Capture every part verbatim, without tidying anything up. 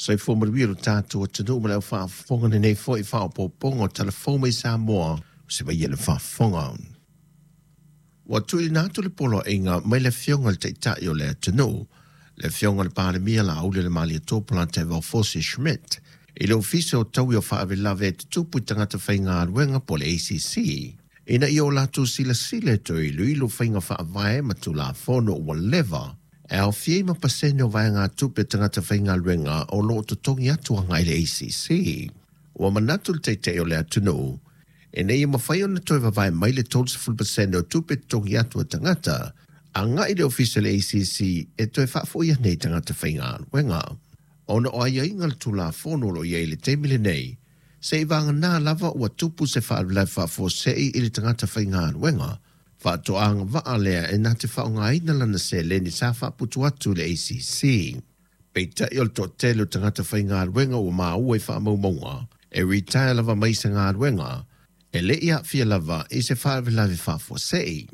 Soifua manuia lo tatou atunuu ma le aufaafofoga lenei foi faaopoopoga o Tala Fou mai Samoa o se vai le faafofoga. Ua tuuina atu le poloaiga mai le afioga i le Taitai o le atunuu, le afioga i le Palemia Laaulialemalietoa Polataivao Fosi Schmidt, i le Ofisa o Taui o Faalavelave e Tutupu i Tagata Faigaluega po o le A C C, ina ia o latou silasila e toe iloilo faiga faavae ma Tulafono ua leva e aofia ai ma pasene o vaegatupe a tagata faigaluega o lo o totogi atu agai i le A C C. Ua manatu le Taitai o le atunuu, ina ia mafai ona toe vavae mai le thirty pasene o tupe totogi atu a tagata, agai i le ofisa o le A C C e toe faafoi ane i tagata faigaluega. Ona o aiaiga le Tulafono o lo o i ai i le taimi lenei, se i vagana lava ua tupu se faalavelave faafuasei i le tagata faigaluega, faatoaga vaa lea e na te faaaogaina lana seleni sa faaputu atu i le A C C. Peitai o le toatele o tagata faigaluega ua maua i faamaumauga, e retire lava mai se galuega, e le i aafia lava i se faalavelave faafuasei.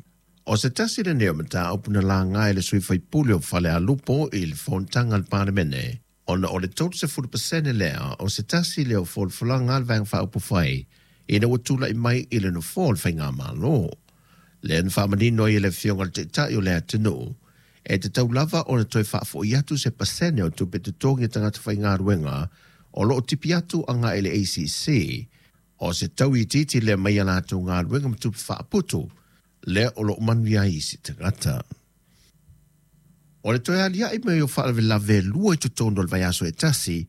O se tasi lenei o mataupu na laga e le sui faipule o Falealupo i le fonotaga a le Palemene, ona o le thirty pasene lea o se tasi lea o folafolaga a le Vaega Faaupufai ina ua tulai mai i le nofoa o le Faigamalo. Lea na faamanino ai e le afioga i le Taitai o le atunuu, e tatau lava ona toe faafoi atu se pasene o tupe totogi a tagata faigaluega o lo o tipi atu agai i le A C C, o se tau itiiti lea mai a latou galuega ma tupe faaputu, lea o lo o manuia ai isi tagata. O le toe aliae mai o faalavelave lua i totonu o le vaiaso e tasi,